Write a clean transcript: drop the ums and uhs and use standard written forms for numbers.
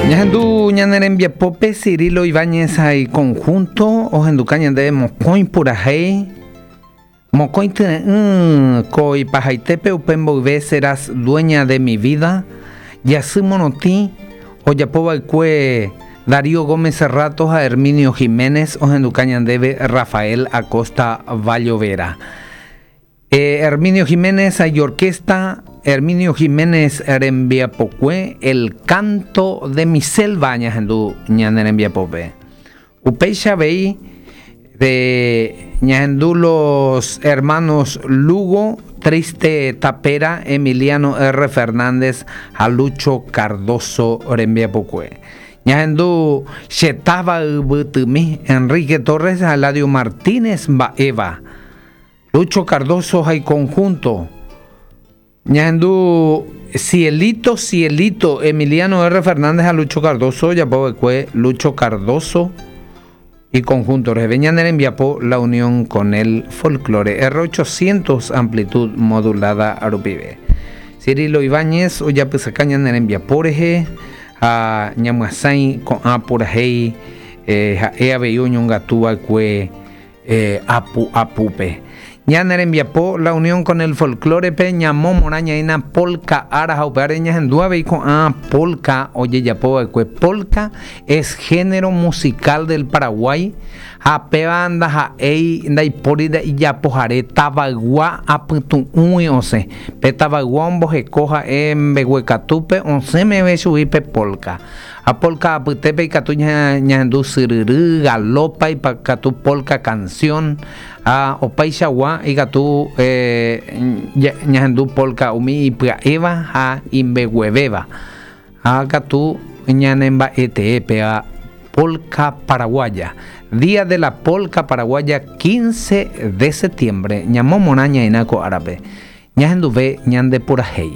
Ñahendu ñane rembiapópe Cirilo Ibáñez ha iconjunto ohenduka ñandéve mokõi purahéi, mokõi tyre'ỹ ko ipahaitépe upe mboyve Serás dueña de mi vida, jasy morotĩ ojapova'ekue Darío Gómez Serrato ha Herminio Giménez ohenduka ñandéve Rafael Acosta Vallovera. Herminio Giménez ha iorquesta, Herminio Giménez rembiapokue, El canto de mi selva ñahendu ñane rembiapópe. Upéicha avei de ñahendu los hermanos Lugo, Triste Tapera, Emiliano R. Fernández ha Lucho Cardozo rembiapokue. Ñahendu Che táva yvytymi, Enrique Torres ha Eladio Martínez mba'éva. Lucho Cardozo ha iconjunto. Ñahendu Cielito, Cielito, Emiliano R. Fernández ha Lucho Cardozo ojapo va'ekue Lucho Cardozo y conjunto reheve. Ñane rembiapo La Unión con el Folklore R800 amplitud modulada rupive. Cirilo Ibáñez ojapysaka ñane rembiapo rehe ha ñamyasãi ko'ã purahéi ha'e avei oñongatu va'ekue Apu apúpe. Ñane rembiapo La Unión con el Folklore-pe ñamomorã ñaína polka ára ha upévare ñahendu avei ko'ã polka ojejapo va'ekue. Polka es género musical del Paraguay ha péva ndaha'éi ndaipóri ijapohare tavaygua apytu'ũgui osẽ. Pe tavaygua omboheko ha'e mbeguekatúpe osẽ meve chugui pe polka. Ha polka apytépe ikatu ñahendu syryry, galopa, ikatu polka canción, ha opaichagua ikatu ñahendu polka umi ipya'éva ha imbeguevéva. Ha katu ñanemba'etee péva polka paraguaya. Día de la polka paraguaya 15 de septiembre ñamomorã ñaĩna ko árape. Ñahenduve ñande purahéi.